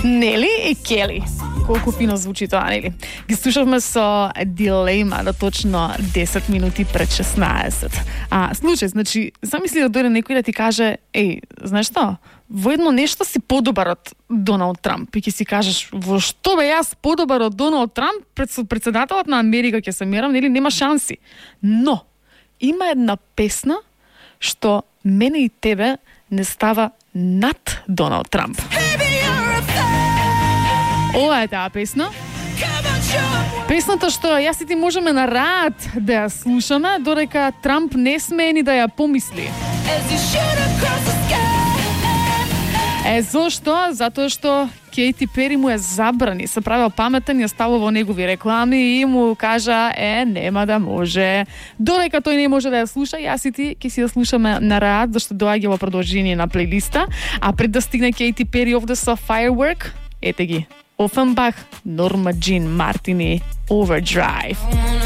Нели и Кели. Колку фино звучи тоа, нели? Ги слушавме со Дилема до точно 10 минути пред 16. Случај, значи, замисли да дојде некој да ти каже, знаеш што? Во едно нешто си подобар од Доналд Трамп. И ќе си кажеш, во што бе јас подобар од Доналд Трамп? Председателот на Америка ќе се мерам, нели? Нема шанси. Но, има една песна што мене и тебе не става над Доналд Трамп. Ова е таа песна. Песната што јас и ти можеме на рад да ја слушаме, додека Трамп не смее ни да ја помисли. Зошто? Затоа што Кейти Пери му ја забрани, се правил паметен, ја ставува во негови реклами и му кажа, нема да може. Додека тој не може да ја слуша, јас и ти ќе си ја слушаме на рад, зашто доаѓа во продолжение на плейлиста, а пред да стигне Кейти Пери овде со Firework, ете ги. Offenbach, Norma Jean Martini, Overdrive.